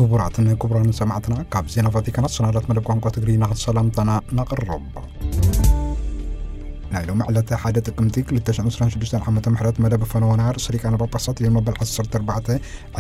ክቡራትን ክቡራን ሰማዕትና፣ ካብ ዜና ቫቲካን ኣሰናዳት መደብ ቋንቋ ትግርኛ ሰላምታና ነቕርብ። ናይ ሎሚ ዕለተ ሓደ ጥቅምቲ ክልተ ሽሕን ዕስራን ሽዱሽተን ዓመተ ምሕረት መደብ ፈነወና ርእሰ ሊቃነ ጳጳሳት ሊዮን መበል ዓሰርተ ኣርባዕተ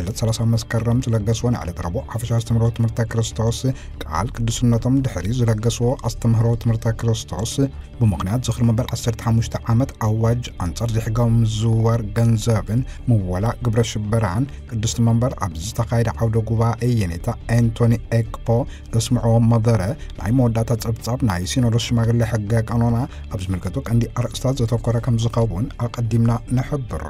ዕለት ሰላሳ መስከረም ዝለገስዎ ናይ ዕለት ረቡዕ ሓፈሻዊ ኣስተምህሮ ትምህርተ ክርስቶስ ቃል ቅዱስነቶም ድሕሪ ዝለገስዎ ኣስተምህሮ ትምህርተ ክርስቶስ፣ ብምኽንያት ዝኽሪ መበል ዓሰርተ ሓሙሽተ ዓመት ኣዋጅ ኣንጻር ዘይሕጋዊ ምዝውዋር ገንዘብን ምወላ ግብረ ሽበራን፣ ቅድስቲ መንበር ኣብ ዝተኻየደ ዓውደ ጉባኤ የኔታ ኤንቶኒ ኤክፖ ዘስምዕዎ መደረ፣ ናይ መወዳእታ ጸብጻብ ናይ ሲኖዶስ ሽማግሌ ሕገ ቀኖና ኣብ ዝምልከቱ ቀንዲ ኣርእስታት ዘተኮረ ከም ዝኸውን ኣቐዲምና ንሕብር።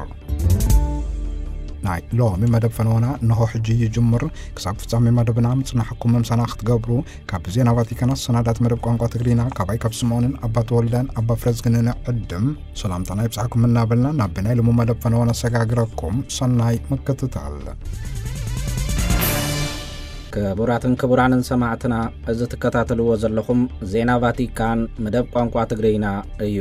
ናይ ሎሚ መደብ ፈነወና እንሆ ሕጂ ይጅምር። ክሳብ ፍጻሜ መደብና ምጽናሕኩም ምምሳና ክትገብሩ ካብ ዜና ቫቲካን ኣሰናዳት መደብ ቋንቋ ትግርኛ ካባይ ካብ ስምዖንን ኣባ ተወልደን ኣባ ፍረዝግንን ዕድም ሰላምታና ይብጻሕኩም እናበልና ናብ ናይ ሎሚ መደብ ፈነወና ነሰጋግረኩም። ሰናይ ምክትታል። ክቡራትን ክቡራንን ሰማዕትና፣ እዚ ትከታተልዎ ዘለኹም ዜና ቫቲካን መደብ ቋንቋ ትግርኛ እዩ።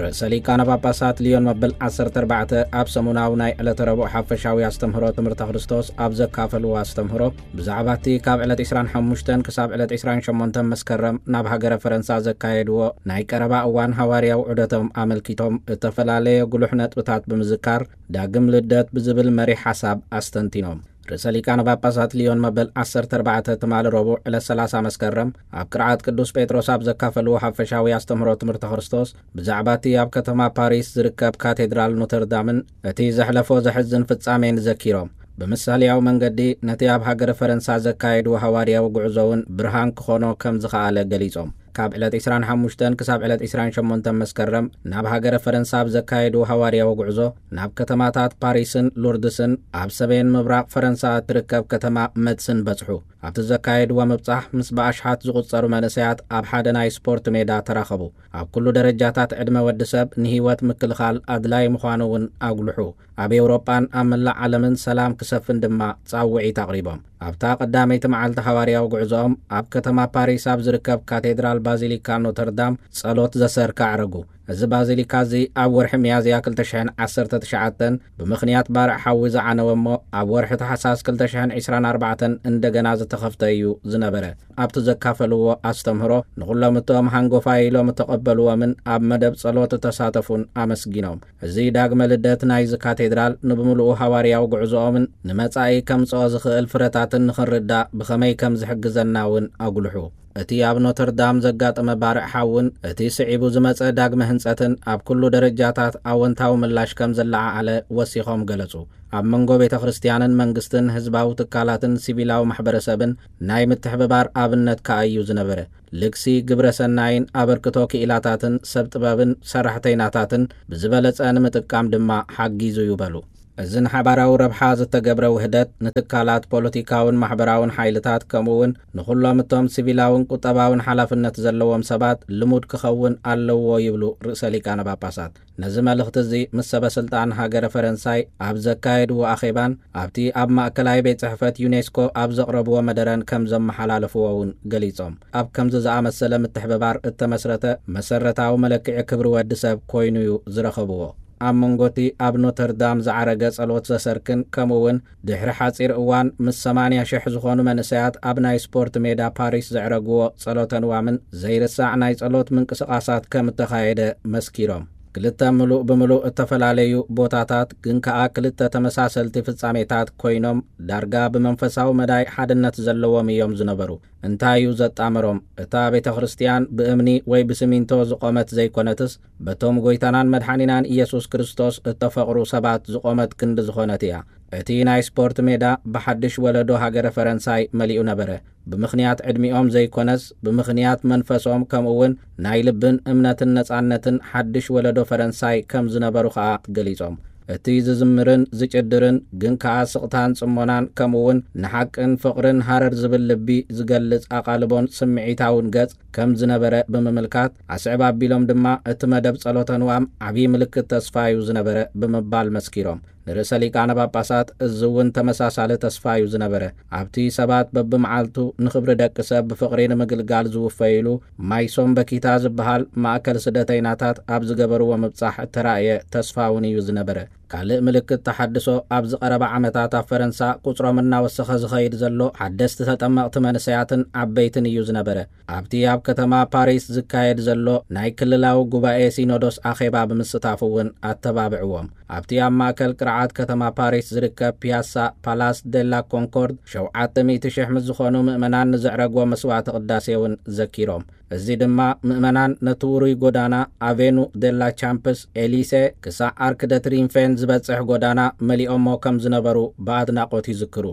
ርእሰ ሊቃነ ጳጳሳት ሊዮን መበል ዓሰርተ ኣርባዕተ ኣብ ሰሙናዊ ናይ ዕለተ ረቡዕ ሓፈሻዊ ኣስተምህሮ ትምህርተ ክርስቶስ ኣብ ዘካፈልዎ ኣስተምህሮ፣ ብዛዕባ እቲ ካብ ዕለት ዕስራን ሓሙሽተን ክሳብ ዕለት ዕስራን ሸሞንተን መስከረም ናብ ሃገረ ፈረንሳ ዘካየድዎ ናይ ቀረባ እዋን ሃዋርያዊ ዑደቶም ኣመልኪቶም እተፈላለየ ጉሉሕ ነጥብታት ብምዝካር፣ ዳግም ልደት ብዝብል መሪሕ ሓሳብ ኣስተንቲኖም። ርእሰ ሊቃነ ጳጳሳት ሊዮን መበል ዓሰርተ ኣርባዕተ ትማሊ ረቡዕ ዕለት ሰላሳ መስከረም ኣብ ቅርዓት ቅዱስ ጴጥሮስ ኣብ ዘካፈልዎ ሓፈሻዊ ኣስተምህሮ ትምህርተ ክርስቶስ፣ ብዛዕባ እቲ ኣብ ከተማ ፓሪስ ዝርከብ ካቴድራል ኖተርዳምን እቲ ዘሕለፎ ዘሕዝን ፍጻሜን ዘኪሮም፣ ብምሳሌያዊ መንገዲ ነቲ ኣብ ሃገረ ፈረንሳ ዘካየድዎ ሃዋርያዊ ጉዕዞ እውን ብርሃን ክኾኖ ከም ዝኸኣለ ገሊጾም። ካብ ዕለት ዕስራን ሓሙሽተን ክሳብ ዕለት ዕስራን ሸሞንተን መስከረም ናብ ሃገረ ፈረንሳ ኣብ ዘካየድዎ ሃዋርያዊ ጉዕዞ፣ ናብ ከተማታት ፓሪስን ሉርድስን ኣብ ሰሜን ምብራቕ ፈረንሳ እትርከብ ከተማ መትስን በጽሑ። ኣብቲ ዘካየድዎ ምብጻሕ ምስ ብኣሽሓት ዝቑጸሩ መንእሰያት ኣብ ሓደ ናይ ስፖርት ሜዳ ተራኸቡ። ኣብ ኩሉ ደረጃታት ዕድመ ወዲ ሰብ ንህይወት ምክልኻል ኣድላይ ምዃኑ እውን ኣጉልሑ። ኣብ ኤውሮጳን ኣብ መላእ ዓለምን ሰላም ክሰፍን ድማ ጻውዒት ኣቕሪቦም። ኣብታ ቀዳመይቲ መዓልቲ ሃዋርያዊ ጉዕዞኦም ኣብ ከተማ ፓሪስ ኣብ ዝርከብ ካቴድራል ባዚሊካ ኖተርዳም ጸሎት ዘሰርካ ኣዕረጉ። እዚ ባዚሊካ እዚ ኣብ ወርሒ ሚያዝያ ክልተ ሽሕን ዓሰርተ ትሽዓተን ብምኽንያት ባርዕ ሓዊ ዝዓነወ እሞ፣ ኣብ ወርሒ ታሕሳስ ክልተ ሽሕን ዕስራን ኣርባዕተን እንደገና ዝተኸፍተ እዩ ዝነበረ። ኣብቲ ዘካፈልዎ ኣስተምህሮ፣ ንኹሎም እቶም ሃንጎፋይ ኢሎም እተቐበልዎምን ኣብ መደብ ጸሎት እተሳተፉን ኣመስጊኖም። እዚ ዳግመ ልደት ናይዚ ካቴድራል ንብምሉኡ ሃዋርያዊ ጉዕዞኦምን ንመጻኢ ከምጽኦ ዝኽእል ፍረታትን ንኽንርዳእ ብኸመይ ከም ዝሕግዘና እውን ኣጉልሑ። እቲ ኣብ ኖተርዳም ዘጋጠመ ባርዕ ሓውን እቲ ስዒቡ ዝመጸ ዳግመ ህንጸትን ኣብ ኩሉ ደረጃታት ኣወንታዊ ምላሽ ከም ዘለዓዓለ ወሲኾም ገለጹ። ኣብ መንጎ ቤተ ክርስቲያንን መንግስትን፣ ህዝባዊ ትካላትን ሲቪላዊ ማሕበረሰብን ናይ ምትሕብባር ኣብነት ከኣ እዩ ዝነበረ። ልግሲ ግብረ ሰናይን ኣበርክቶ ክኢላታትን ሰብ ጥበብን ሰራሕተይናታትን ብዝበለጸ ንምጥቃም ድማ ሓጊዙ እዩ በሉ። እዚ ንሓባራዊ ረብሓ ዝተገብረ ውህደት ንትካላት ፖለቲካውን ማሕበራውን ሓይልታት፣ ከምኡ እውን ንኹሎም እቶም ሲቪላውን ቁጠባውን ሓላፍነት ዘለዎም ሰባት ልሙድ ክኸውን ኣለዎ ይብሉ ርእሰ ሊቃነ ጳጳሳት። ነዚ መልእኽቲ እዚ ምስ ሰበ ስልጣን ሃገረ ፈረንሳይ ኣብ ዘካየድዎ ኣኼባን ኣብቲ ኣብ ማእከላይ ቤት ጽሕፈት ዩኔስኮ ኣብ ዘቕረብዎ መደረን ከም ዘመሓላለፍዎ እውን ገሊጾም። ኣብ ከምዚ ዝኣመሰለ ምትሕብባር እተመስረተ መሰረታዊ መለክዒ ክብሪ ወዲ ሰብ ኮይኑ እዩ ዝረኸብዎ። ኣብ መንጎ እቲ ኣብ ኖተርዳም ዝዓረገ ጸሎት ዘሰርክን፣ ከምኡ እውን ድሕሪ ሓጺር እዋን ምስ ሰማንያ ሽሕ ዝኾኑ መንእሰያት ኣብ ናይ ስፖርት ሜዳ ፓሪስ ዘዕረግዎ ጸሎተ ንዋምን ዘይርሳዕ ናይ ጸሎት ምንቅስቓሳት ከም እተኻየደ መስኪሮም። ክልተ ምሉእ ብምሉእ እተፈላለዩ ቦታታት፣ ግን ከኣ ክልተ ተመሳሰልቲ ፍጻሜታት ኮይኖም፣ ዳርጋ ብመንፈሳዊ መዳይ ሓድነት ዘለዎም እዮም ዝነበሩ። እንታይ እዩ ዘጣመሮም? እታ ቤተ ክርስቲያን ብእምኒ ወይ ብስሚንቶ ዝቖመት ዘይኮነትስ፣ በቶም ጐይታናን መድሓኒናን ኢየሱስ ክርስቶስ እተፈቕሩ ሰባት ዝቖመት ክንዲ ዝኾነት እያ። እቲ ናይ ስፖርት ሜዳ ብሓድሽ ወለዶ ሃገረ ፈረንሳይ መሊኡ ነበረ። ብምኽንያት ዕድሚኦም ዘይኮነስ፣ ብምኽንያት መንፈሶም፣ ከምኡ እውን ናይ ልብን እምነትን ነጻነትን ሓድሽ ወለዶ ፈረንሳይ ከም ዝነበሩ ከኣ ገሊጾም። እቲ ዝዝምርን ዝጭድርን፣ ግን ከኣ ስቕታን ጽሞናን፣ ከምኡ እውን ንሓቅን ፍቕርን ሃረር ዝብል ልቢ ዝገልጽ ኣቓልቦን ስምዒታውን ገጽ ከም ዝነበረ ብምምልካት፣ ኣስዕብ ኣቢሎም ድማ፣ እቲ መደብ ጸሎተ ንዋም ዓብዪ ምልክት ተስፋ እዩ ዝነበረ ብምባል መስኪሮም። ንርእሰ ሊቃነ ጳጳሳት እዚ እውን ተመሳሳሊ ተስፋ እዩ ዝነበረ። ኣብቲ ሰባት በብመዓልቱ ንኽብሪ ደቂ ሰብ ብፍቕሪ ንምግልጋል ዝውፈይሉ፣ ማይሶም በኪታ ዝበሃል ማእከል ስደተይናታት ኣብ ዝገበርዎ ምብጻሕ እተራእየ ተስፋ እውን እዩ ዝነበረ። ካልእ ምልክት ተሓድሶ ኣብዚ ቀረባ ዓመታት ኣብ ፈረንሳ ቁጽሮም እናወሰኸ ዝኸይድ ዘሎ ሓደስቲ ተጠመቕቲ መንእሰያትን ዓበይትን እዩ ዝነበረ። ኣብቲ ኣብ ከተማ ፓሪስ ዝካየድ ዘሎ ናይ ክልላዊ ጉባኤ ሲኖዶስ ኣኼባ ብምስታፍ እውን ኣተባብዕዎም። ኣብቲ ኣብ ማእከል ቅርዓት ከተማ ፓሪስ ዝርከብ ፒያሳ ፓላስ ደላ ኮንኮርድ ሸውዓተ ሚእቲ ሽሕ ምስ ዝኾኑ ምእመናን ንዘዕረግዎ መስዋዕተ ቅዳሴ እውን ዘኪሮም። እዚ ድማ ምእመናን ነቲ ውሩይ ጎዳና ኣቬኑ ደላ ቻምፕስ ኤሊሴ ክሳዕ ኣርክ ደ ትሪንፌን ዝበጽሕ ጎዳና መሊኦሞ ከም ዝነበሩ ብኣድናቖት ይዝክሩ።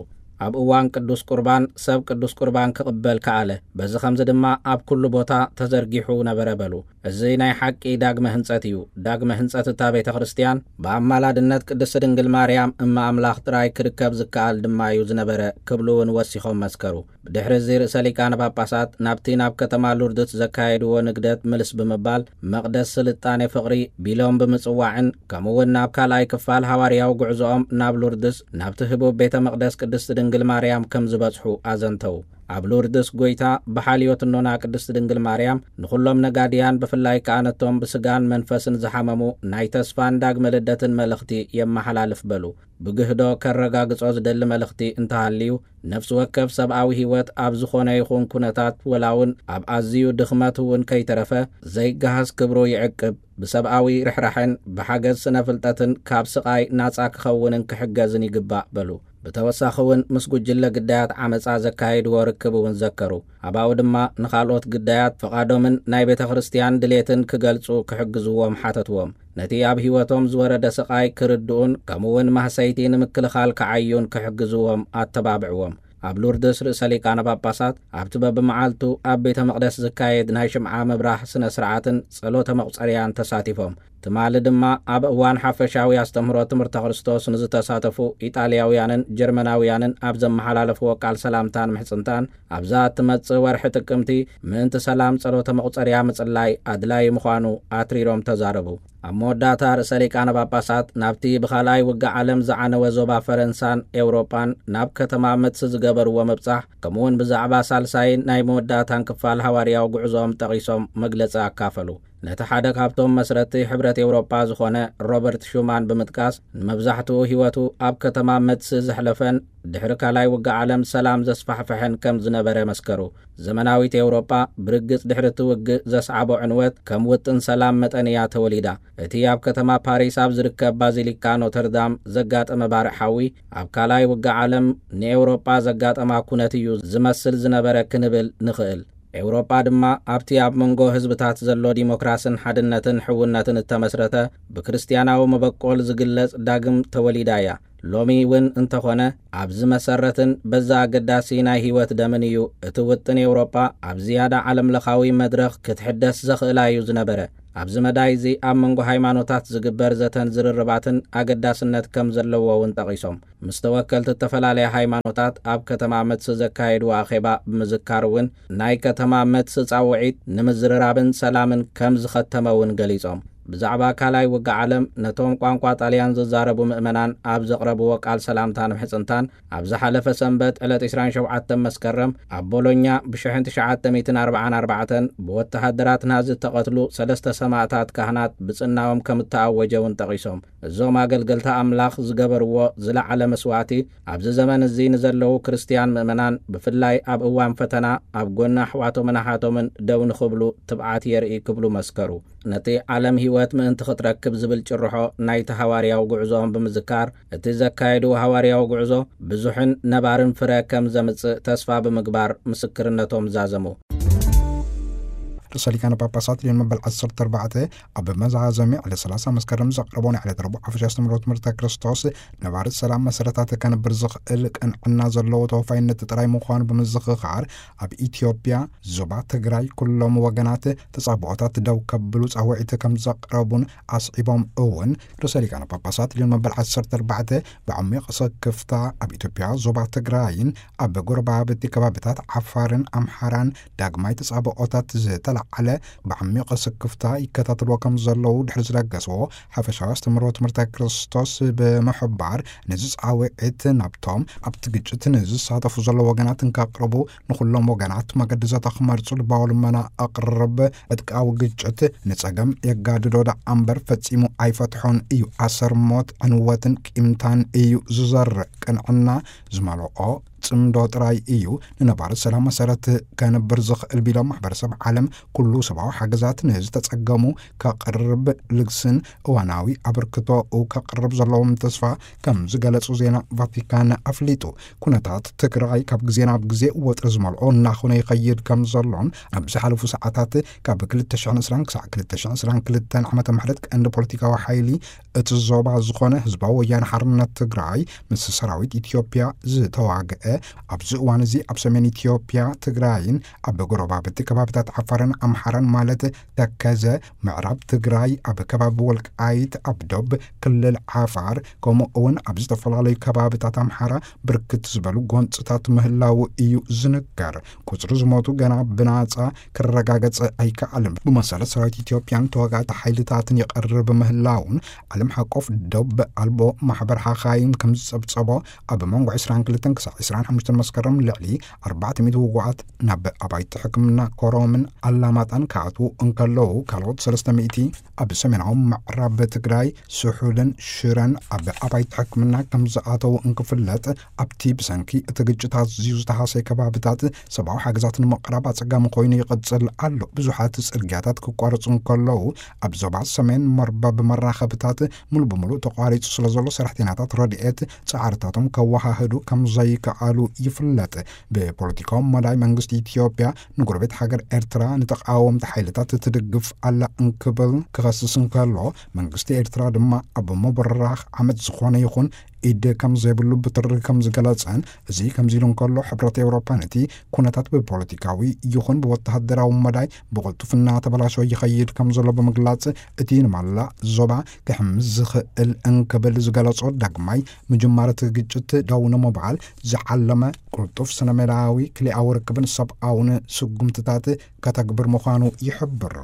ኣብ እዋን ቅዱስ ቁርባን ሰብ ቅዱስ ቁርባን ክቕበል ከኣለ። በዚ ኸምዚ ድማ ኣብ ኩሉ ቦታ ተዘርጊሑ ነበረ በሉ። እዚ ናይ ሓቂ ዳግመ ህንጸት እዩ። ዳግመ ህንጸት እታ ቤተ ክርስቲያን ብኣማላድነት ቅድስቲ ድንግል ማርያም እመ ኣምላኽ ጥራይ ክርከብ ዝከኣል ድማ እዩ ዝነበረ ክብሉ እውን ወሲኾም መስከሩ። ብድሕሪ እዚ ርእሰ ሊቃነ ጳጳሳት ናብቲ ናብ ከተማ ሉርድስ ዘካየድዎ ንግደት ምልስ ብምባል መቕደስ ስልጣኔ ፍቕሪ ቢሎም ብምጽዋዕን ከምኡ እውን ናብ ካልኣይ ክፋል ሃዋርያዊ ጉዕዞኦም ናብ ሉርድስ ናብቲ ህቡብ ቤተ መቕደስ ቅድስቲ ድንግል ማርያም ከም ዝበጽሑ ኣዘንተው። ኣብ ሉርድስ ጎይታ ብሓልዮት እኖና ቅድስቲ ድንግል ማርያም ንኹሎም ነጋድያን ብፍላይ ከኣ ነቶም ብስጋን መንፈስን ዝሓመሙ ናይ ተስፋን ዳግመ ልደትን መልእኽቲ የመሓላልፍ በሉ። ብግህዶ ከረጋግጾ ዝደሊ መልእኽቲ እንተሃልዩ ነፍሲ ወከፍ ሰብኣዊ ህይወት ኣብ ዝኾነ ይኹን ኩነታት ወላ እውን ኣብ ኣዝዩ ድኽመት እውን ከይተረፈ ዘይገሃስ ክብሩ ይዕቅብ። ብሰብኣዊ ርሕራሕን ብሓገዝ ስነ ፍልጠትን ካብ ስቓይ ናጻ ክኸውንን ክሕገዝን ይግባእ በሉ። ብተወሳኺ እውን ምስ ጉጅለ ግዳያት ዓመጻ ዘካየድዎ ርክብ እውን ዘከሩ። ኣባኡ ድማ ንኻልኦት ግዳያት ፍቓዶምን ናይ ቤተ ክርስቲያን ድሌትን ክገልጹ ክሕግዝዎም ሓተትዎም። ነቲ ኣብ ህይወቶም ዝወረደ ስቓይ ክርድኡን ከምኡ እውን ማህሰይቲ ንምክልኻል ክዓዩን ክሕግዝዎም ኣተባብዕዎም። ኣብ ሉርድስ ርእሰ ሊቃነ ጳጳሳት ኣብቲ በብመዓልቱ ኣብ ቤተ መቕደስ ዝካየድ ናይ ሽምዓ ምብራህ ስነ ስርዓትን ጸሎተ መቑጸርያን ተሳቲፎም። ትማሊ ድማ ኣብ እዋን ሓፈሻዊ ኣስተምህሮ ትምህርተ ክርስቶስ ንዝተሳተፉ ኢጣልያውያንን ጀርመናውያንን ኣብ ዘመሓላለፍዎ ቃል ሰላምታን ምሕጽንታን ኣብዛ እትመጽእ ወርሒ ጥቅምቲ ምእንቲ ሰላም ጸሎተ መቑጸርያ ምጽላይ ኣድላዪ ምዃኑ ኣትሪሮም ተዛረቡ። ኣብ መወዳእታ ርእሰ ሊቃነ ጳጳሳት ናብቲ ብኻልኣይ ውግእ ዓለም ዝዓነወ ዞባ ፈረንሳን ኤውሮጳን ናብ ከተማ መትስ ዝገበርዎ ምብጻሕ ከምኡውን ብዛዕባ ሳልሳይን ናይ መወዳእታን ክፋል ሃዋርያዊ ጉዕዞኦም ጠቒሶም መግለጺ ኣካፈሉ። ነቲ ሓደ ካብቶም መስረቲ ሕብረት ኤውሮጳ ዝኾነ ሮበርት ሹማን ብምጥቃስ ንመብዛሕትኡ ህይወቱ ኣብ ከተማ መትስ ዘሕለፈን ድሕሪ ካልኣይ ውግእ ዓለም ሰላም ዘስፋሕፈሐን ከም ዝነበረ መስከሩ። ዘመናዊት ኤውሮጳ ብርግጽ ድሕሪ እቲ ውግእ ዘስዓቦ ዕንወት ከም ውጥን ሰላም መጠን እያ ተወሊዳ። እቲ ኣብ ከተማ ፓሪስ ኣብ ዝርከብ ባዚሊካ ኖተርዳም ዘጋጠመ ባርዕ ሓዊ ኣብ ካልኣይ ውግእ ዓለም ንኤውሮጳ ዘጋጠማ ኩነት እዩ ዝመስል ዝነበረ ክንብል ንኽእል። ኤውሮጳ ድማ ኣብቲ ኣብ መንጎ ህዝብታት ዘሎ ዲሞክራስን ሓድነትን ሕውነትን እተመስረተ ብክርስትያናዊ መበቆል ዝግለጽ ዳግም ተወሊዳ እያ። ሎሚ እውን እንተኾነ ኣብዚ መሰረትን በዛ ኣገዳሲ ናይ ህይወት ደምን እዩ እቲ ውጥን ኤውሮጳ ኣብ ዝያዳ ዓለምለኻዊ መድረኽ ክትሕደስ ዘኽእላ እዩ ዝነበረ። ኣብዚ መዳይ እዚ ኣብ መንጎ ሃይማኖታት ዝግበር ዘተን ዝርርባትን ኣገዳስነት ከም ዘለዎ እውን ጠቒሶም። ምስ ተወከልቲ እተፈላለያ ሃይማኖታት ኣብ ከተማ መትስ ዘካየድዎ ኣኼባ ብምዝካር እውን ናይ ከተማ መትስ ጻውዒት ንምዝርራብን ሰላምን ከም ዝኸተመ እውን ገሊጾም። ብዛዕባ ካልኣይ ውግእ ዓለም ነቶም ቋንቋ ጣልያን ዝዛረቡ ምእመናን ኣብ ዘቕረብዎ ቃል ሰላምታን ምሕጽንታን ኣብ ዝሓለፈ ሰንበት ዕለት ዕስራን ሸውዓተን መስከረም ኣብ ቦሎኛ ብ ትሽዓተ ሚእትን ኣርባዓን ኣርባዕተን ብወተሃደራት ናዚ እተቐትሉ ሰለስተ ሰማእታት ካህናት ብጽናኦም ከም እተኣወጀ እውን ጠቒሶም። እዞም ኣገልገልቲ ኣምላኽ ዝገበርዎ ዝለዓለ መስዋእቲ ኣብዚ ዘመን እዚ ንዘለዉ ክርስትያን ምእመናን ብፍላይ ኣብ እዋን ፈተና ኣብ ጎኒ ኣሕዋቶምን ኣሓቶምን ደው ንኽብሉ ትብዓት የርኢ ክብሉ መስከሩ። ነቲ ዓለም ህይወት ምእንቲ ክትረክብ ዝብል ጭርሖ ናይቲ ሃዋርያዊ ጉዕዞኦም ብምዝካር እቲ ዘካየድዎ ሃዋርያዊ ጉዕዞ ብዙሕን ነባርን ፍረ ከም ዘምጽእ ተስፋ ብምግባር ምስክርነቶም ዛዘሙ። ርእሰ ሊቃነ ጳጳሳት ሊዮን መበል ዓሰርተ ኣርባዕተ ኣብ መዛዘሚ ዕለት ሰላሳ መስከረም ዘቕረቦ ናይ ዕለት ረቡዕ ሓፈሻ ኣስተምህሮ ትምህርተ ክርስቶስ ነባሪ ሰላም መሰረታት ከንብር ዝኽእል ቅንዕና ዘለዎ ተወፋይነት ጥራይ ምዃኑ ብምዝኽኻር ኣብ ኢትዮጵያ ዞባ ትግራይ ኩሎም ወገናት ተጻብኦታት ደው ከብሉ ጻውዒት ከም ዘቕረቡን ኣስዒቦም እውን ርእሰ ሊቃነ ጳጳሳት ሊዮን መበል ዓሰርተ ኣርባዕተ ብዓሚቕ ስክፍታ ኣብ ኢትዮጵያ ዞባ ትግራይን ኣብ ጎረባብቲ ከባቢታት ዓፋርን ኣምሓራን ዳግማይ ተጻብኦታት ዝተላ ዝለዓለ ብዓሚቕ ስክፍታ ይከታተልዎ ከም ዘለዉ ድሕሪ ዝለገስዎ ሓፈሻዊ ኣስተምህሮ ትምህርተ ክርስቶስ ብምሕባር፣ ነዚ ጻውዒት ናብቶም ኣብቲ ግጭት ንዝሳተፉ ዘለዉ ወገናት እንካቕርቡ፣ ንኹሎም ወገናት መገዲ ዘተ ክመርጹ ልባዊ ልመና ኣቕርብ። ዕጥቃዊ ግጭት ንጸገም የጋድዶ ደኣ እምበር ፈጺሙ ኣይፈትሖን እዩ። ኣሰር ሞት፣ ዕንወትን ቂምታን እዩ ዝዘርእ። ቅንዕና ዝመልኦ ጽምዶ ጥራይ እዩ ንነባሪ ሰላም መሰረት ከንብር ዝኽእል ቢሎም፣ ማሕበረሰብ ዓለም ኩሉ ሰብኣዊ ሓገዛት ንዝተጸገሙ ከቕርብ ልግስን እዋናዊ ኣበርክቶኡ ከቕርብ ዘለዎም ተስፋ ከም ዝገለጹ ዜና ቫቲካን ኣፍሊጡ። ኩነታት ትግራይ ካብ ግዜ ናብ ግዜ ወጥሪ ዝመልኦ እናኾነ ይኸይድ ከም ዘሎን፣ ኣብ ዝሓለፉ ሰዓታት ካብ ክልተ ሽሕን ዕስራን ክሳዕ ክልተ ሽሕን ዕስራን ክልተን ዓመተ ምሕረት ቀንዲ ፖለቲካዊ ሓይሊ እቲ ዞባ ዝኾነ ህዝባዊ ወያነ ሓርነት ትግራይ ምስ ሰራዊት ኢትዮጵያ ዝተዋግአ፣ ኣብዚ እዋን እዚ ኣብ ሰሜን ኢትዮጵያ ትግራይን ኣብ ጎረባብቲ ከባቢታት ዓፋርን ኣምሓራን ማለት ተከዘ፣ ምዕራብ ትግራይ ኣብ ከባቢ ወልቃይት፣ ኣብ ዶብ ክልል ዓፋር፣ ከምኡ እውን ኣብ ዝተፈላለዩ ከባቢታት ኣምሓራ ብርክት ዝበሉ ጎንፅታት ምህላው እዩ ዝንገር። ቁፅሪ ዝሞቱ ገና ብናፃ ክረጋገጽ ኣይከኣልን። ብመሰረት ሰራዊት ኢትዮጵያን ተዋጋእቲ ሓይልታትን ይቐርብ ምህላውን፣ ዓለም ሓቆፍ ዶብ ኣልቦ ማሕበር ሓኻይም ከም ዝጸብጸቦ፣ ኣብ መንጎ ዕስራን ክልተን ክሳዕ ዕስራን ሓሙሽተን መስከረም ልዕሊ ኣርባዕተ ሚእቲ ውጉኣት ናብ ኣባይቲ ሕክምና ኮረምን ኣላማጣን ክኣትዉ እንከለዉ፣ ካልኦት ሰለስተ ሚእቲ ኣብ ሰሜናዊ ምዕራብ ትግራይ ስሑልን ሽረን ኣብ ኣባይቲ ሕክምና ከም ዝኣተዉ እንክፍለጥ፣ ኣብቲ ብሰንኪ እቲ ግጭት ኣዝዩ ዝተሃሰየ ከባብታት ሰብኣዊ ሓገዛት ንምቕራብ ኣጸጋሚ ኮይኑ ይቕጽል ኣሎ። ብዙሓት ጽርግያታት ክቋረጹ እንከለዉ፣ ኣብ ዞባ ሰሜን መርበብ መራኸብታት ሙሉ ብሙሉ ተቋሪጹ ስለ ዘሎ፣ ሰራሕተኛታት ረድኤት ጻዕርታቶም ከወሃህዱ ከም ዘይከኣሉ ይፍለጥ። ብፖለቲካዊ መዳይ መንግስቲ ኢትዮጵያ ንጎረቤት ሃገር ኤርትራ ንተቃወምቲ ሓይልታት ትድግፍ ኣላ እንክብል ክኸስስ እንከሎ፣ መንግስቲ ኤርትራ ድማ ኣብ ምብራኽ ዓመጽ ዝኾነ ይኹን ኢድ ከም ዘይብሉ ብትሪ ከም ዝገለጸን፣ እዚ ከምዚ ኢሉ እንከሎ፣ ሕብረት ኤውሮፓ ነቲ ኩነታት ብፖለቲካዊ ይኹን ብወተሃደራዊ መዳይ ብቕልጡፍ እናተበላሸወ ይኸይድ ከም ዘሎ ብምግላጽ፣ እቲ ንማላ ዞባ ክሕምስ ዝኽእል እንክብል ዝገለጾ ዳግማይ ምጅማር እቲ ግጭት ደው ንምባል ዝዓለመ ቅልጡፍ ስነ ሜላዊ ክልኣዊ ርክብን ሰብኣውን ስጉምትታት ከተግብር ምዃኑ ይሕብር።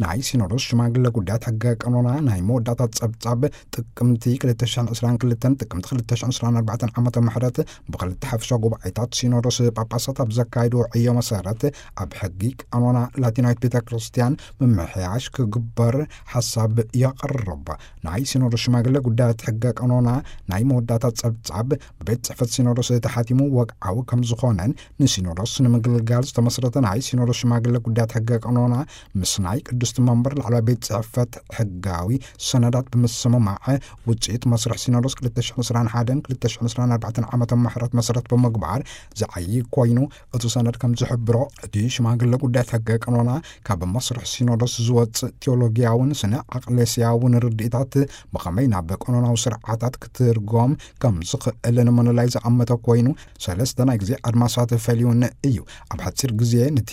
ናይ ሲኖዶስ ሽማግለ ጉዳያት ሕገ ቀኖና ናይ መወዳእታ ጸብጻብ ጥቅምቲ ክልተ ሽሕን ዕስራን ክልተን ጥቅምቲ ክልተ ሽሕን ዕስራን ኣርባዕተን ዓመተ ምሕረት ብክልተ ሓፈሻ ጉባኤታት ሲኖዶስ ጳጳሳት ኣብ ዘካየድዎ ዕዮ መሰረት፣ ኣብ ሕጊ ቀኖና ላቲናዊት ቤተ ክርስቲያን ምምሕያሽ ክግበር ሓሳብ የቕርብ። ናይ ሲኖዶስ ሽማግለ ጉዳያት ሕገ ቀኖና ናይ መወዳእታ ጸብጻብ ብቤት ጽሕፈት ሲኖዶስ ተሓቲሙ ወግዓዊ ከም ዝኾነን፣ ንሲኖዶስ ንምግልጋል ዝተመስረተ ናይ ሲኖዶስ ሽማግለ ጉዳያት ሕገ ቀኖና ምስ ናይ ቅድስቲ መንበር ላዕለዋይ ቤት ጽሕፈት ሕጋዊ ሰነዳት ብምስምማዕ፣ ውጽኢት መስርሕ ሲኖዶስ ክልተ ሽሕን ዕስራን ሓደን ክልተ ሽሕን ዕስራን ኣርባዕተን ዓመተ ምሕረት መሰረት ብምግባር ዝዓዪ ኮይኑ፣ እቲ ሰነድ ከም ዝሕብሮ፣ እቲ ሽማግለ ጉዳያት ሕገ ቀኖና ካብ መስርሕ ሲኖዶስ ዝወጽእ ቴዎሎጊያውን ስነ ኣቅሌስያውን ርድኢታት ብኸመይ ናብ ቀኖናዊ ስርዓታት ክትርጎም ከም ዝኽእል ንምልላይ ዝኣመተ ኮይኑ፣ ሰለስተ ናይ ግዜ ኣድማሳት ፈልዩን እዩ። ኣብ ሓጺር ግዜ ነቲ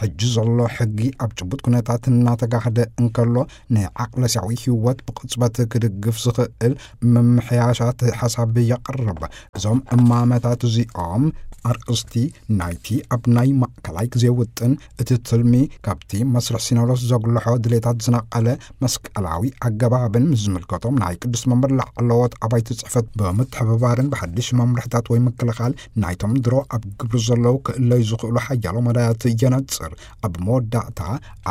ሕጂ ዘሎ ሕጊ ኣብ ጭቡጥ ኩነታት እናተጋህደ እንከሎ፣ ንዓቕለስያዊ ህይወት ብቕጽበት ክድግፍ ዝኽእል ምምሕያሻት ሓሳብ የቕርብ። እዞም እማመታት እዚኦም ኣርእስቲ ናይቲ ኣብ ናይ ማእከላይ ግዜ ውጥን እቲ ትልሚ ካብቲ መስርሕ ሲኖዶስ ዘጉልሖ ድሌታት ዝነቐለ መስቀላዊ ኣገባብን ምስ ዝምልከቶም ናይ ቅዱስ መንበር ላዕለዎት ኣባይቲ ጽሕፈት ብምትሕብባርን ብሓድሽ መምርሕታት ወይ ምክልኻል ናይቶም ድሮ ኣብ ግብሪ ዘለዉ ክእለዩ ዝኽእሉ ሓያሎ መዳያት የነጽር። ኣብ መወዳእታ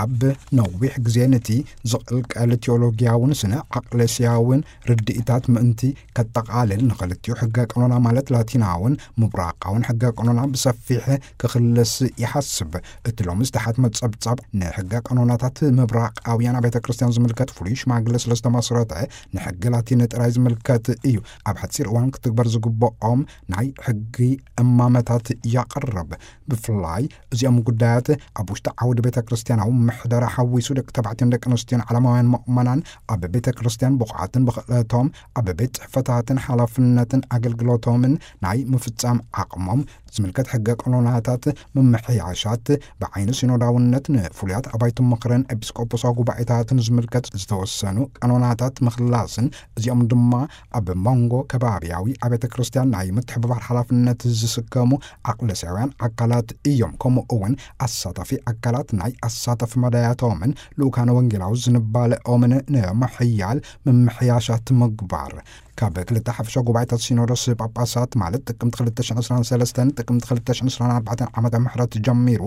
ኣብ ነዊሕ ግዜ ነቲ ዝቕልቀል ቴዎሎጊያውን ስነ ዓቕለስያውን ርድኢታት ምእንቲ ከጠቓልል ንኽልቲኡ ሕገ ቀኖና ማለት ላቲናውን ምብራቓውን ሕገ ቀኖና ብሰፊሕ ክኽልስ ይሓስብ። እቲ ሎሚ ዝተሓትመ ጸብጻብ ንሕገ ቀኖናታት ምብራቓውያን ቤተ ክርስቲያን ዝምልከት ፍሉይ ሽማግለ ስለ ዝተመስረተ ንሕጊ ላቲን ጥራይ ዝምልከት እዩ። ኣብ ሓጺር እዋን ክትግበር ዝግብኦም ናይ ሕጊ እማመታት ያቕርብ። ብፍላይ እዚኦም ጉዳያት ኣብ ውሽጢ ዓውዲ ቤተ ክርስቲያናዊ ምሕደራ ሓዊ ሱ ደቂ ተባዕትዮን ደቂ ኣንስትዮን ዓለማውያን መእመናን ኣብ ቤተ ክርስቲያን ብቑዓትን ብኽእለቶም ኣብ ቤት ጽሕፈታትን ሓላፍነትን ኣገልግሎቶምን ናይ ምፍጻም ዓቕሞም ዝምልከት ሕገ ቀኖናታት ምምሕያሻት ብዓይኒ ሲኖዳውነት ንፍሉያት ኣባይቱ ምኽርን ኤጲስቆጶሳዊ ጉባኤታትን ዝምልከት ዝተወሰኑ ቀኖናታት ምኽላስን እዚኦም ድማ ኣብ መንጎ ከባብያዊ ኣብያተ ክርስቲያን ናይ ምትሕብባር ሓላፍነት ዝስከሙ ኣቅለስያውያን ኣካላት እዮም። ከምኡ እውን ኣሳታፊ ኣካላት ናይ ኣሳታፊ መዳያቶምን ልኡካነ ወንጌላዊ ዝንባለኦምን ንምሕያል ምምሕያሻት ምግባር ካብ ክልተ ሓፈሻ ጉባኤታት ሲኖዶስ ጳጳሳት ማለት ጥቅምቲ ክልተ ሽሕን ዕስራን ሰለስተን ጥቅምቲ ክልተ ሽሕን ዕስራን ኣርባዕተን ዓመተ ምሕረት ጀሚሩ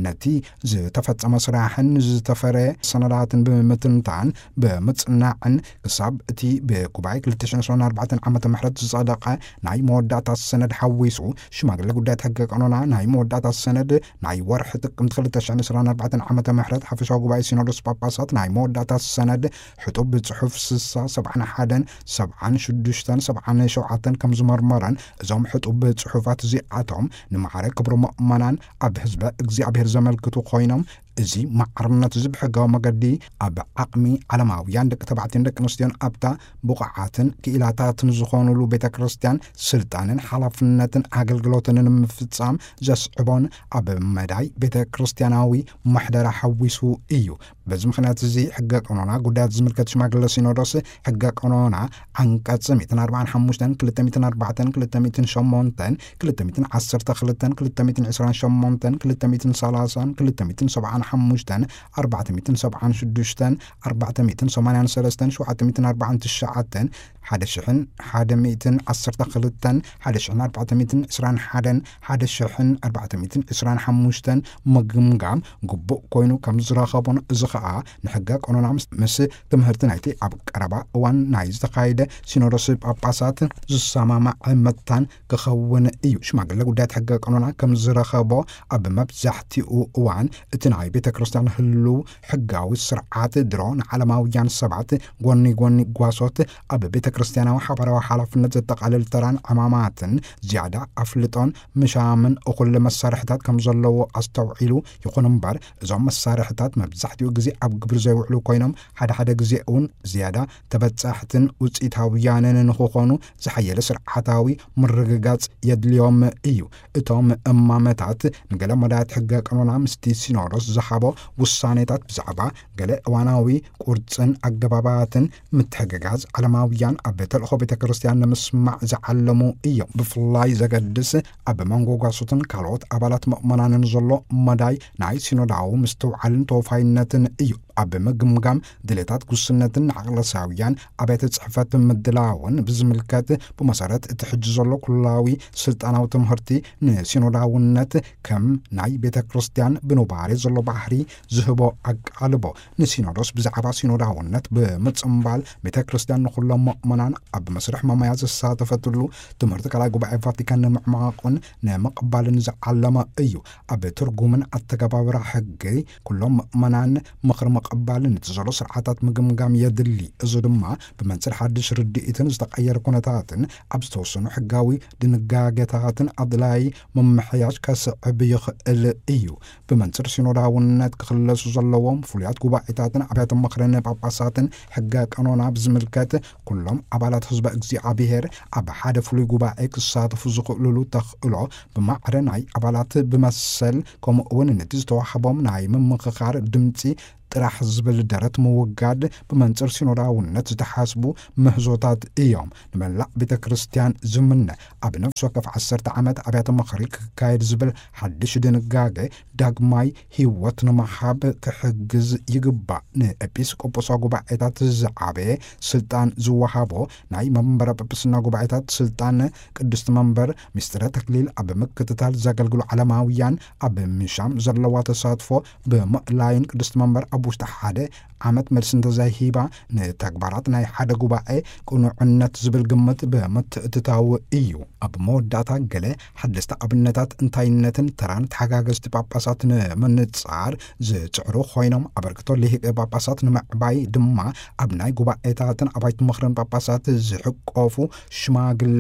ነቲ ዝተፈጸመ ስራሕን ዝተፈረ ሰነዳትን ብምትንታን ብምጽናዕን ክሳብ እቲ ብጉባኤ ክልተ ሽሕን ዕስራን ኣርባዕተን ዓመተ ምሕረት ዝጸደቐ ናይ መወዳእታ ሰነድ ሓዊሱ ሽማግለ ጉዳያት ሕገ ቀኖና ናይ መወዳእታ ሰነድ ናይ ወርሒ ጥቅምቲ ክልተ ሽሕን ዕስራን ኣርባዕተን ዓመተ ምሕረት ሓፈሻዊ ጉባኤ ሲኖዶስ ጳጳሳት ናይ መወዳእታ ሰነድ ሕጡብ ብጽሑፍ ስሳ ሰብዓን ሓደን ሰብዓን ሽዱሽተን ሰብዓን ሸውዓተን ከም ዝመርመረን እዞም ሕጡብ ጽሑፋት እዚኣቶም ንማዕረ ክብሪ ምእመናን ኣብ ህዝበ እግዚኣብሔር ዘመልክቱ ኮይኖም እዚ ማዕርነት እዚ ብሕጋዊ መገዲ ኣብ ዓቕሚ ዓለማውያን ደቂ ተባዕትዮን ደቂ ኣንስትዮን ኣብታ ብቑዓትን ክኢላታትን ዝኾኑሉ ቤተ ክርስቲያን ስልጣንን ሓላፍነትን ኣገልግሎትን ንምፍጻም ዘስዕቦን ኣብ መዳይ ቤተ ክርስቲያናዊ ማሕደራ ሓዊሱ እዩ። በዚ ምኽንያት እዚ ሕገ ቀኖና ጉዳያት ዝምልከት ሽማግለ ሲኖዶስ ሕገ ቀኖና ዓንቀጽ ሚእትን ኣርባዓን ሓሙሽተን ክልተ ሚእትን ኣርባዕተን ክልተ ሚእትን ሸሞንተን ክልተ ሚእትን ዓሰርተ ክልተን ክልተ ሚእትን ዕስራን ሸሞንተን ክልተ ሚእትን ሰላሳን ክልተ ሚእትን ሰብዓን ሓሙሽተን ኣርባዕተ ሚእትን ሰብዓን ሽዱሽተን ኣርባዕተ ሚእትን ሰማንያን ሰለስተን ሸውዓተ ሚእትን ኣርባዓን ትሽዓተን ሓደ ሽሕን ሓደ ሚእትን ዓሰርተ ክልተን ሓደ ሽሕን ኣርባዕተ ሚእትን ዕስራን ሓደን ሓደ ሽሕን ኣርባዕተ ሚእትን ዕስራን ሓሙሽተን ምግምጋም ግቡእ ኮይኑ ከም ዝረኸቦን እዚ ኸኣ ንሕገ ቀኖና ምስ ትምህርቲ ናይቲ ኣብ ቀረባ እዋን ናይ ዝተኻየደ ሲኖዶስ ጳጳሳት ዝሰማማዕ መታን ክኸውን እዩ። ሽማግለ ጉዳያት ሕገ ቀኖና ከም ዝረኸቦ ኣብ መብዛሕትኡ እዋን እቲ ናይ ቤተ ክርስቲያን ህልው ሕጋዊ ስርዓት ድሮ ንዓለማውያን ሰባት ጎኒ ጎኒ ጓሶት ኣብ ቤተ ክርስቲያናዊ ሓባራዊ ሓላፍነት ዘጠቓልል ተራን ዕማማትን ዝያዳ ኣፍልጦን ምሻምን እኹል መሳርሕታት ከም ዘለዎ ኣስተውዒሉ ይኹን እምበር እዞም መሳርሕታት መብዛሕትኡ ግዜ ኣብ ግብሪ ዘይውዕሉ ኮይኖም ሓደ ሓደ ግዜ እውን ዝያዳ ተበጻሕትን ውፅኢታውያንን ንክኾኑ ዝሓየለ ስርዓታዊ ምርግጋጽ የድልዮም እዩ። እቶም እማመታት ንገለ መዳያት ሕገ ቀኖና ምስቲ ሲኖዶስ ዝሃቦ ውሳኔታት ብዛዕባ ገለ እዋናዊ ቁርጽን ኣገባባትን ምትሕግጋዝ ዓለማውያን ኣብ ተልእኾ ቤተ ክርስቲያን ንምስማዕ ዝዓለሙ እዮም። ብፍላይ ዘገድስ ኣብ መንጎ ጓሶትን ካልኦት ኣባላት ምእመናንን ዘሎ መዳይ ናይ ሲኖዳዊ ምስትውዓልን ተወፋይነትን እዩ። ኣብ ምግምጋም ድሌታት ጉስነትን ንዓቕለሳውያን ኣብያተ ጽሕፈት ምድላውን ብዝምልከት ብመሰረት እቲ ሕጂ ዘሎ ኩላዊ ስልጣናዊ ትምህርቲ ንሲኖዳውነት ከም ናይ ቤተ ክርስቲያን ብኑባሬ ዘሎ ባህሪ ዝህቦ ኣቃልቦ ንሲኖዶስ ብዛዕባ ሲኖዳውነት ብምጽምባል ቤተ ክርስቲያን ንኹሎም ምእመናን ኣብ መስርሕ መመያ ዘሳተፈትሉ ትምህርቲ ካልኣይ ጉባኤ ቫቲካን ንምዕማቑን ንምቕባልን ዝዓለመ እዩ። ኣብ ትርጉምን ኣተገባብራ ሕጊ ኩሎም ምእመናን ምኽሪ ምቕባልን እቲ ዘሎ ስርዓታት ምግምጋም የድሊ። እዚ ድማ ብመንጽር ሓድሽ ርድኢትን ዝተቐየረ ኩነታትን ኣብ ዝተወሰኑ ሕጋዊ ድንጋጌታትን ኣድላይ ምምሕያሽ ከስዕብ ይኽእል እዩ። ብመንጽር ሲኖዳውነት ክኽለሱ ዘለዎም ፍሉያት ጉባኤታትን ኣብያተ ምኽርን ጳጳሳትን ሕገ ቀኖና ብዝምልከት ኩሎም ኣባላት ህዝበ እግዚኣብሔር ኣብ ሓደ ፍሉይ ጉባኤ ክሳተፉ ዝኽእሉሉ ተኽእሎ ብማዕረ ናይ ኣባላት ብመሰል ከምኡ እውን ነቲ ዝተዋህቦም ናይ ምምኽኻር ድምፂ ጥራሕ ዝብል ደረት ምውጋድ ብመንጽር ሲኖዳውነት ዝተሓስቡ ምህዞታት እዮም። ንመላእ ቤተ ክርስቲያን ዝምነ ኣብ ነፍሲ ወከፍ ዓሰርተ ዓመት ኣብያተ ምኽሪ ክካየድ ዝብል ሓድሽ ድንጋጌ ዳግማይ ህይወት ንምሃብ ክሕግዝ ይግባእ። ንኤጲስቆጶሳዊ ጉባኤታት ዝዓበየ ስልጣን ዝወሃቦ ናይ መንበረ ጵጵስና ጉባኤታት ስልጣን ቅድስቲ መንበር ምስጢረ ተክሊል ኣብ ምክትታል ዘገልግሉ ዓለማውያን ኣብ ምሻም ዘለዋ ተሳትፎ ብምእላይን ቅድስቲ መንበር ኣብ ውሽጢ ሓደ ዓመት መልሲ እንተዘይሂባ ንተግባራት ናይ ሓደ ጉባኤ ቅኑዕነት ዝብል ግምት ብምትእትታው እዩ። ኣብ መወዳእታ ገለ ሓደስቲ ኣብነታት እንታይነትን ተራን ተሓጋገዝቲ ጳጳሳት ንምንጻር ዝጽዕሩ ኮይኖም ኣበርክቶ ልሂቀ ጳጳሳት ንምዕባይ ድማ ኣብ ናይ ጉባኤታትን ኣባይቲ ምኽርን ጳጳሳት ዝሕቆፉ ሽማግለ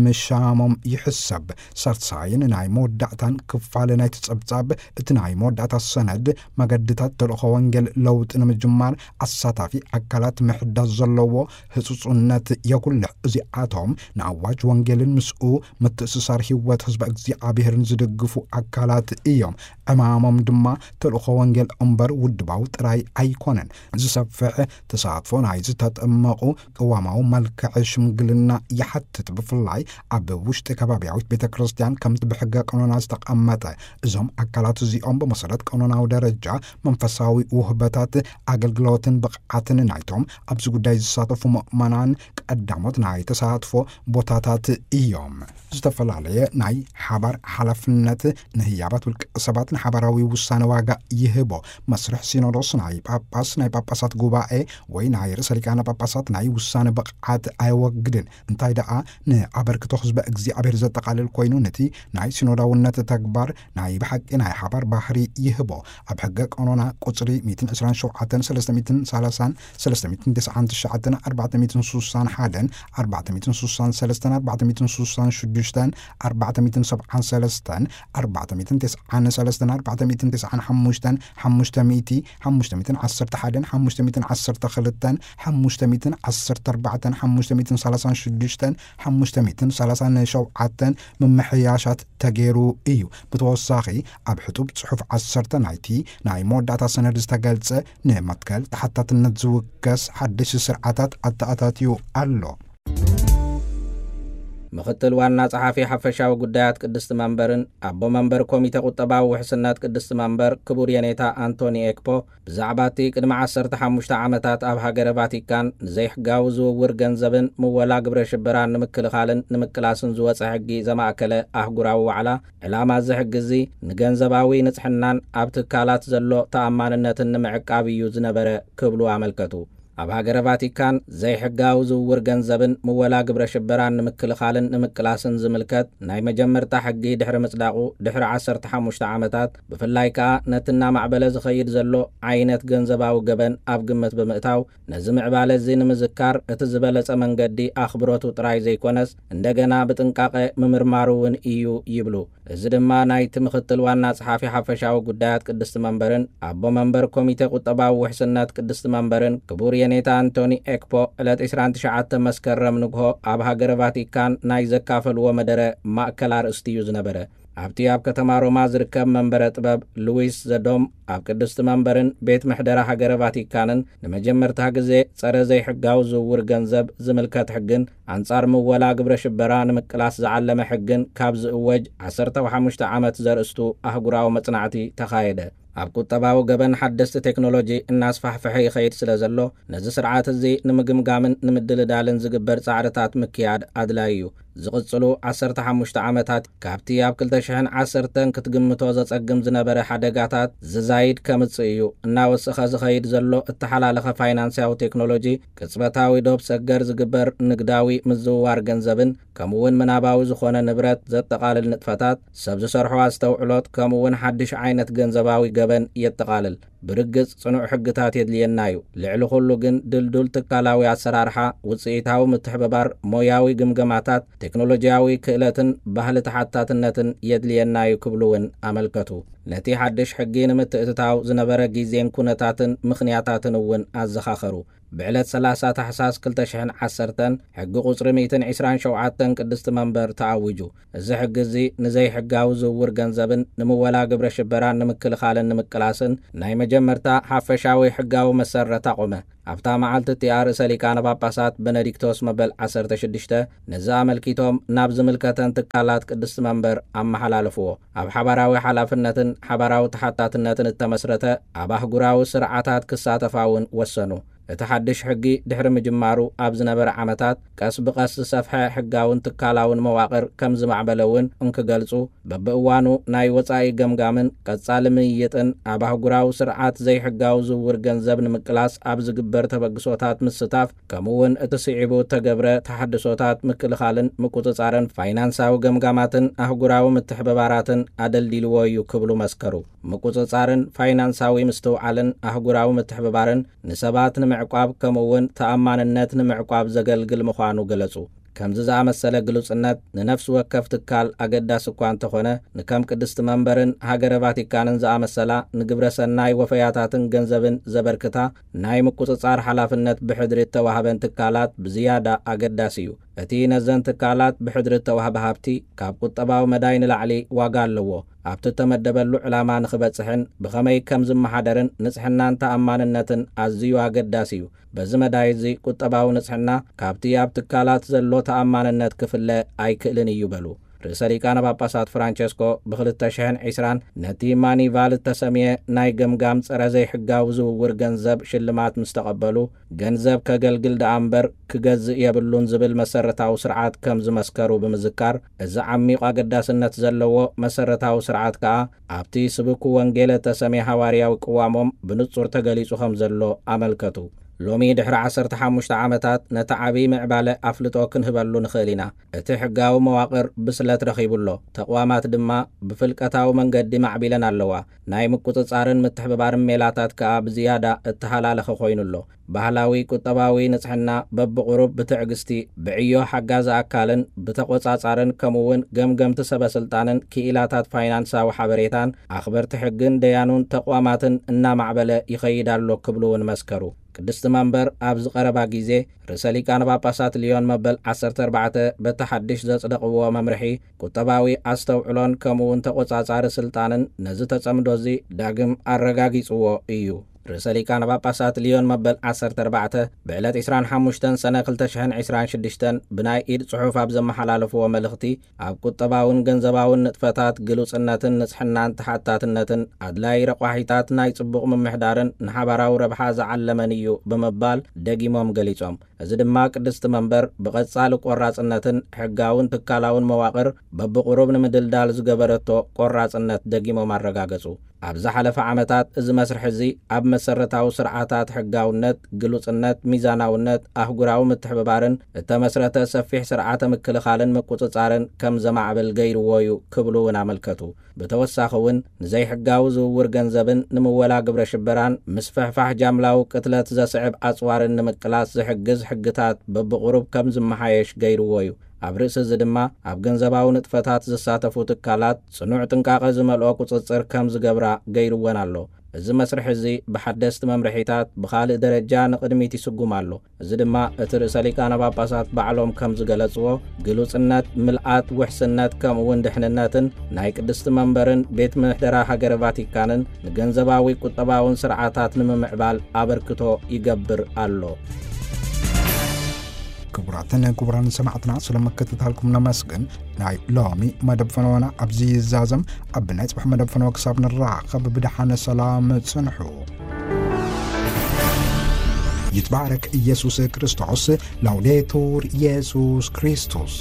ምሻሞም ይሕሰብ። ሳልሳይን ናይ መወዳእታን ክፋል ናይቲ ጸብጻብ እቲ ናይ መወዳእታ ሰነድ መገድታት ተልእኾ ወንጌል ለውጢ ንምጅማር ኣሳታፊ ኣካላት ምሕዳስ ዘለዎ ህጹጽነት የጉልሕ። እዚኣቶም ንኣዋጅ ወንጌልን ምስኡ ምትእስሳር ህይወት ህዝበ እግዚኣብሔርን ዝድግፉ ኣካላት እዮም። ዕማሞም ድማ ተልእኾ ወንጌል እምበር ውድባዊ ጥራይ ኣይኮነን። ዝሰፍሕ ተሳትፎ ናይ ዝተጠመቑ ቅዋማዊ መልክዕ ሽምግልና ይሓትት። ብፍላይ ኣብ ውሽጢ ከባቢያዊት ቤተ ክርስቲያን ከምቲ ብሕገ ቀኖና ዝተቐመጠ፣ እዞም ኣካላት እዚኦም ብመሰረት ቀኖናዊ ደረጃ መንፈሳዊ ውህበታት ኣገልግሎትን ብቕዓትን ናይቶም ኣብዚ ጉዳይ ዝሳተፉ ምእመናን ቀዳሞት ናይ ተሳትፎ ቦታታት እዮም። ዝተፈላለየ ናይ ሓባር ሓላፍነት ንህያባት ውልቀ ሰባት ንሓባራዊ ውሳነ ዋጋ ይህቦ። መስርሕ ሲኖዶስ ናይ ጳጳስ፣ ናይ ጳጳሳት ጉባኤ ወይ ናይ ርእሰ ሊቃነ ጳጳሳት ናይ ውሳነ ብቕዓት ኣየወግድን። እንታይ ደኣ ንኣበርክቶ ህዝበ እግዚኣብሔር ዘጠቓልል ኮይኑ፣ ነቲ ናይ ሲኖዳውነት ተግባር ናይ ብሓቂ ናይ ሓባር ባህሪ ይህቦ። ኣብ ሕገ ቀኖና ቁጽሪ ሚእትን ዕስራን ሸውዓተን፣ ሰለስተ ሚእትን ሰላሳን፣ ሰለስተ ሚእትን ተስዓን ትሽዓተን፣ ኣርባዕተ ሚእትን ስሳን ሓደን፣ ኣርባዕተ ሚእትን ስሳን ሰለስተን፣ ኣርባዕተ ሚእትን ስሳን ሽዱሽተን፣ ኣርባዕተ ሚእትን ሰብዓን ሰለስተን፣ ኣርባዕተ ሚእትን ተስዓን ሰለስተን፣ ኣርባዕተ ሚእትን ተስዓን ሓሙሽተን፣ ሓሙሽተ ሚእቲ፣ ሓሙሽተ ሚእትን ዓሰርተ ሓደን፣ ሓሙሽተ ሚእትን ዓሰርተ ክልተን፣ ሓሙሽተ ሚእትን ዓሰርተ ኣርባዕተን፣ ሓሙሽተ ሚእትን ሰላሳን ሽዱሽተን፣ ሓሙሽተ ሚእትን ሰላሳን ሸውዓተን ምምሕያሻት ተገይሩ እዩ። ብተወሳኺ ኣብ ሕጡብ ጽሑፍ ዓሰርተ ናይቲ ናይ መወዳእታ ሰነድ ዝተገልጸ ንመትከል ተሓታትነት ዝውከስ ሓድሽ ስርዓታት ኣተኣታትዩ ኣሎ። ምኽትል ዋና ጸሓፊ ሓፈሻዊ ጉዳያት ቅድስቲ መንበርን ኣቦ መንበር ኮሚተ ቁጠባዊ ውሕስነት ቅድስቲ መንበር ክቡር የኔታ ኣንቶኒ ኤክፖ ብዛዕባ እቲ ቅድሚ ዓሰርተ ሓሙሽተ ዓመታት ኣብ ሃገረ ቫቲካን ንዘይሕጋዊ ዝውውር ገንዘብን ምወላ ግብረ ሽበራን ንምክልኻልን ንምቅላስን ዝወጸ ሕጊ ዘማእከለ ኣህጉራዊ ዋዕላ፣ ዕላማ እዚ ሕጊ እዚ ንገንዘባዊ ንጽሕናን ኣብ ትካላት ዘሎ ተኣማንነትን ንምዕቃብ እዩ ዝነበረ ክብሉ ኣመልከቱ። ኣብ ሃገረ ቫቲካን ዘይሕጋዊ ዝውውር ገንዘብን ምወላ ግብረ ሽበራን ንምክልኻልን ንምቅላስን ዝምልከት ናይ መጀመርታ ሕጊ ድሕሪ ምጽዳቑ ድሕሪ ዓሰርተ ሓሙሽተ ዓመታት፣ ብፍላይ ከኣ ነቲ እናማዕበለ ዝኸይድ ዘሎ ዓይነት ገንዘባዊ ገበን ኣብ ግምት ብምእታው፣ ነዚ ምዕባለ እዚ ንምዝካር እቲ ዝበለጸ መንገዲ ኣኽብሮቱ ጥራይ ዘይኮነስ፣ እንደገና ብጥንቃቐ ምምርማሩ እውን እዩ ይብሉ። እዚ ድማ ናይቲ ምኽትል ዋና ጸሓፊ ሓፈሻዊ ጉዳያት ቅድስቲ መንበርን ኣቦ መንበር ኮሚተ ቁጠባዊ ውሕስነት ቅድስቲ መንበርን ክቡር የኔታ ኣንቶኒ ኤክፖ ዕለት ዕስራን ትሽዓተ መስከረም ንግሆ ኣብ ሃገረ ቫቲካን ናይ ዘካፈልዎ መደረ ማእከል ኣርእስቲ እዩ ዝነበረ። ኣብቲ ኣብ ከተማ ሮማ ዝርከብ መንበረ ጥበብ ሉዊስ ዘዶም ኣብ ቅድስቲ መንበርን ቤት ምሕደራ ሃገረ ቫቲካንን ንመጀመርታ ግዜ ጸረ ዘይሕጋዊ ዝውውር ገንዘብ ዝምልከት ሕግን ኣንጻር ምወላ ግብረ ሽበራ ንምቅላስ ዝዓለመ ሕግን ካብ ዝእወጅ ዓሰርተ ሓሙሽተ ዓመት ዘርእስቱ ኣህጉራዊ መጽናዕቲ ተኻየደ። ኣብ ቁጠባዊ ገበን ሓደስቲ ቴክኖሎጂ እናስፋሕፍሐ ይኸይድ ስለ ዘሎ፣ ነዚ ስርዓት እዚ ንምግምጋምን ንምድልዳልን ዝግበር ጻዕርታት ምክያድ ኣድላዪ እዩ። ዝቕጽሉ ዓሰርተ ሓሙሽተ ዓመታት ካብቲ ኣብ ክልተ ሽሕን ዓሰርተን ክትግምቶ ዘጸግም ዝነበረ ሓደጋታት ዝዛይድ ከምጽእ እዩ። እናወሰኸ ዝኸይድ ዘሎ እተሓላለኸ ፋይናንስያዊ ቴክኖሎጂ፣ ቅጽበታዊ ዶብ ሰገር ዝግበር ንግዳዊ ምዝውዋር ገንዘብን ከምኡውን ምናባዊ ዝኾነ ንብረት ዘጠቓልል ንጥፈታት፣ ሰብ ዝሰርሖ ኣስተውዕሎት ከምኡውን ሓድሽ ዓይነት ገንዘባዊ ገበን የጠቓልል። ብርግጽ ጽኑዕ ሕግታት የድልየና እዩ። ልዕሊ ኩሉ ግን ድልዱል ትካላዊ ኣሰራርሓ፣ ውጽኢታዊ ምትሕብባር፣ ሞያዊ ግምገማታት፣ ቴክኖሎጂያዊ ክእለትን ባህሊ ተሓታትነትን የድልየና እዩ ክብሉ እውን ኣመልከቱ። ነቲ ሓድሽ ሕጊ ንምትእትታው ዝነበረ ግዜን ኩነታትን ምኽንያታትን እውን ኣዘኻኸሩ። ብዕለት ሰላሳ ታሕሳስ ክልተ ሽሕን ዓሰርተን ሕጊ ቁጽሪ ሚእትን ዕስራን ሸውዓተን ቅድስቲ መንበር ተኣዊጁ። እዚ ሕጊ እዚ ንዘይሕጋዊ ዝውውር ገንዘብን ንምወላ ግብረ ሽበራን ንምክልኻልን ንምቅላስን ናይ መጀመርታ ሓፈሻዊ ሕጋዊ መሰረት ኣቖመ። ኣብታ መዓልቲ እቲኣ ርእሰ ሊቃነ ጳጳሳት በነዲክቶስ መበል ዓሰርተ ሽዱሽተ ነዚ ኣመልኪቶም ናብ ዝምልከተን ትካላት ቅድስቲ መንበር ኣመሓላለፍዎ። ኣብ ሓባራዊ ሓላፍነትን ሓባራዊ ተሓታትነትን እተመስረተ ኣብ ኣህጉራዊ ስርዓታት ክሳተፋ እውን ወሰኑ። እቲ ሓድሽ ሕጊ ድሕሪ ምጅማሩ ኣብ ዝነበረ ዓመታት ቀስ ብቐስ ዝሰፍሐ ሕጋውን ትካላውን መዋቕር ከም ዝማዕበለ እውን እንክገልጹ፣ በብእዋኑ ናይ ወጻኢ ገምጋምን ቀጻሊ ምይይጥን ኣብ ኣህጉራዊ ስርዓት ዘይሕጋዊ ዝውውር ገንዘብ ንምቅላስ ኣብ ዝግበር ተበግሶታት ምስታፍ፣ ከምኡውን እቲ ስዒቡ እተገብረ ተሓድሶታት ምክልኻልን ምቁጽጻርን ፋይናንሳዊ ገምጋማትን ኣህጉራዊ ምትሕብባራትን ኣደልዲልዎ እዩ ክብሉ መስከሩ። ምቁጽጻርን ፋይናንሳዊ ምስትውዓልን ኣህጉራዊ ምትሕብባርን ንሰባት ንምዕቋብ ከምኡውን ተኣማንነት ንምዕቋብ ዘገልግል ምዃኑ ገለጹ። ከምዚ ዝኣመሰለ ግሉጽነት ንነፍሲ ወከፍ ትካል ኣገዳሲ እኳ እንተኾነ፣ ንከም ቅድስቲ መንበርን ሃገረ ቫቲካንን ዝኣመሰላ ንግብረ ሰናይ ወፈያታትን ገንዘብን ዘበርክታ ናይ ምቁጽጻር ሓላፍነት ብሕድሪ እተዋህበን ትካላት ብዝያዳ ኣገዳሲ እዩ። እቲ ነዘን ትካላት ብሕድሪ እተዋህበ ሃብቲ ካብ ቁጠባዊ መዳይ ንላዕሊ ዋጋ ኣለዎ። ኣብቲ እተመደበሉ ዕላማ ንኽበጽሕን ብኸመይ ከም ዝመሓደርን ንጽሕናን ተኣማንነትን ኣዝዩ ኣገዳሲ እዩ። በዚ መዳይ እዚ ቁጠባዊ ንጽሕና ካብቲ ኣብ ትካላት ዘሎ ተኣማንነት ክፍለ ኣይክእልን እዩ በሉ። ርእሰ ሊቃነ ጳጳሳት ፍራንቸስኮ ብ ክልተ ሽሕን ዕስራን ነቲ ማኒቫል እተሰምየ ናይ ገምጋም ጸረ ዘይሕጋዊ ዝውውር ገንዘብ ሽልማት ምስ ተቐበሉ፣ ገንዘብ ከገልግል ደኣ እምበር ክገዝእ የብሉን ዝብል መሰረታዊ ስርዓት ከም ዝመስከሩ ብምዝካር፣ እዚ ዓሚቕ ኣገዳስነት ዘለዎ መሰረታዊ ስርዓት ከኣ ኣብቲ ስብኩ ወንጌል እተሰምየ ሃዋርያዊ ቅዋሞም ብንጹር ተገሊጹ ከም ዘሎ ኣመልከቱ። ሎሚ ድሕሪ ዓሰርተ ሓሙሽተ ዓመታት ነቲ ዓቢ ምዕባለ ኣፍልጦ ክንህበሉ ንኽእል ኢና። እቲ ሕጋዊ መዋቕር ብስለት ረኺቡ ኣሎ። ተቕዋማት ድማ ብፍልቀታዊ መንገዲ ማዕቢለን ኣለዋ። ናይ ምቁጽጻርን ምትሕብባርን ሜላታት ከኣ ብዝያዳ እተሃላለኸ ኮይኑ ኣሎ። ባህላዊ ቁጠባዊ ንጽሕና በብቑሩብ ብትዕግስቲ፣ ብዕዮ ሓጋዚ ኣካልን ብተቖጻጻርን ከምኡውን ገምገምቲ ሰበ ስልጣንን ክኢላታት ፋይናንሳዊ ሓበሬታን ኣኽበርቲ ሕግን ደያኑን ተቕዋማትን እናማዕበለ ይኸይድ ኣሎ ክብሉ እውን መስከሩ። ቅድስቲ መንበር ኣብዚ ቀረባ ግዜ ርእሰ ሊቃነ ጳጳሳት ልዮን መበል ዓሰርተ ኣርባዕተ በቲ ሓድሽ ዘጽደቕዎ መምርሒ ቁጠባዊ ኣስተውዕሎን ከምኡውን ተቖጻጻሪ ስልጣንን ነዚ ተጸምዶ እዚ ዳግም ኣረጋጊጽዎ እዩ። ርእሰ ሊቃነ ጳጳሳት ልዮን መበል ዓሰርተ ኣርባዕተ ብዕለት ዕስራን ሓሙሽተን ሰነ ክልተ ሽሕን ዕስራን ሽዱሽተን ብናይ ኢድ ጽሑፍ ኣብ ዘመሓላለፍዎ መልእኽቲ፣ ኣብ ቁጠባውን ገንዘባውን ንጥፈታት ግሉጽነትን ንጽሕናን ተሓታትነትን ኣድላይ ረቋሒታት ናይ ጽቡቕ ምምሕዳርን ንሓባራዊ ረብሓ ዝዓለመን እዩ ብምባል ደጊሞም ገሊጾም። እዚ ድማ ቅድስቲ መንበር ብቐጻሊ ቆራጽነትን ሕጋውን ትካላውን መዋቕር በብቑሩብ ንምድልዳል ዝገበረቶ ቆራጽነት ደጊሞም ኣረጋገጹ። ኣብ ዝሓለፈ ዓመታት እዚ መስርሕ እዚ ኣብ መሰረታዊ ስርዓታት ሕጋውነት፣ ግሉጽነት፣ ሚዛናውነት፣ ኣህጉራዊ ምትሕብባርን እተመስረተ ሰፊሕ ስርዓተ ምክልኻልን ምቁጽጻርን ከም ዘማዕብል ገይርዎ እዩ ክብሉ እውን ኣመልከቱ። ብተወሳኺ እውን ንዘይሕጋዊ ዝውውር ገንዘብን ንምወላ ግብረ ሽበራን ምስፍሕፋሕ ጃምላዊ ቅትለት ዘስዕብ ኣጽዋርን ንምቅላስ ዝሕግዝ ሕግታት በብቑሩብ ከም ዝመሓየሽ ገይርዎ እዩ። ኣብ ርእሲ እዚ ድማ ኣብ ገንዘባዊ ንጥፈታት ዝሳተፉ ትካላት ጽኑዕ ጥንቃቐ ዝመልኦ ቁጽጽር ከም ዝገብራ ገይርወን ኣሎ። እዚ መስርሕ እዚ ብሓደስቲ መምርሒታት ብኻልእ ደረጃ ንቕድሚት ይስጉም ኣሎ። እዚ ድማ እቲ ርእሰ ሊቃነ ጳጳሳት ባዕሎም ከም ዝገለጽዎ ግሉጽነት፣ ምልኣት፣ ውሕስነት ከምኡ እውን ድሕንነትን ናይ ቅድስቲ መንበርን ቤት ምሕደራ ሃገረ ቫቲካንን ንገንዘባዊ ቁጠባውን ስርዓታት ንምምዕባል ኣበርክቶ ይገብር ኣሎ። ክቡራትን ክቡራን ሰማዕትና፣ ስለ ምክትታልኩም ነመስግን። ናይ ሎሚ መደብ ፈነወና ኣብዚ ይዛዘም። ኣብ ናይ ጽባሕ መደብ ፈነወ ክሳብ ንራኸብ ብደሓነ ሰላም ጽንሑ። ይትባረክ ኢየሱስ ክርስቶስ። ላውዴቱር ኢየሱስ ክርስቶስ።